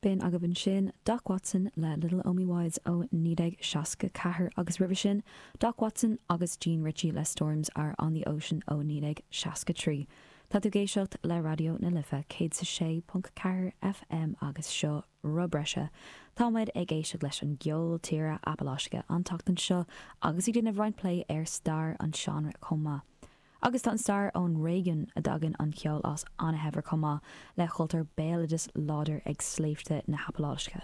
B'in agaibh ansin Doc Watson le Little Omi Wise ó 1964 agus roimhe sin Doc Watson agus Jean Ritchie le Storms Are On The Ocean ó 1963. Tá tú ag éisteacht le Raidió na Life 106.4 FM agus seo Roth Breise. Tá muid ag éisteacht leis an gceol tíre Apaláiseach an tseachtain seo agus ag déanamh roinnt plé ar stair an seánra chomh maith. Agus tá an stair ón réigiún a dtagann an ceol as an-shaibhir chomh maith le cultúr béaloidis láidir ag sléibhte na hApaláise.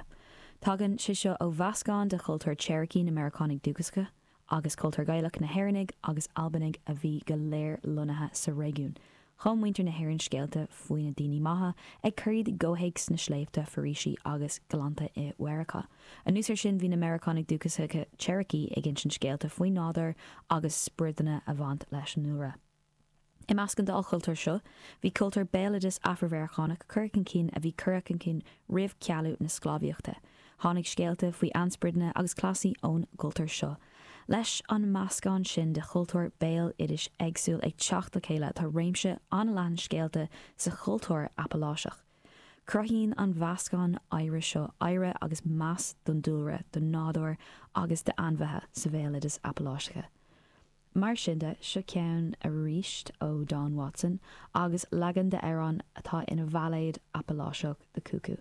Tagann sé seo ó mheascán de chultúr Cherokee na Meiriceánaigh Dúchasacha agus cultúr Gaelach na hÉireannaigh agus Albanaigh a bhí go léir lonnaithe sa réigiún. Chum muintir na hÉireann scéalta faoi na daoine maithe ag cur iad i gcomhthéacs na sléibhte, foraoisí agus gleannta i Mheiriceá. Anuas air sin, bhí na Meiriceánaigh Dúchasacha Cherokee ag insint scéalta faoin nádúr agus sprideanna a bhaint leis an ndúlra. I measc an dá chultúr seo, bhí cultúr béaloidis Afra-Mheiriceánach curtha chun cinn a bhí curtha chun cinn roimh chealú na sclábhaíochta. Tháinig scéalta faoi ainspireadanna agus cleasaí ón gcultúr seo. Leis an meascán sin de chultúr béal oidis éagsúil ag teacht le chéile tá réimse an-leathan scéalta sa chultúr Apaláiseach. Cruthaíonn an mheascán oidhre seo adhradh agus meas don dúlra, don nádúr agus d'ainmhithe sa bhéaloideas Apaláiseach. Mar sin de, seo ceann arís ó Don Watson agus leagan d'amhrán atá ina bhailéad Apaláiseach, The Cuckoo.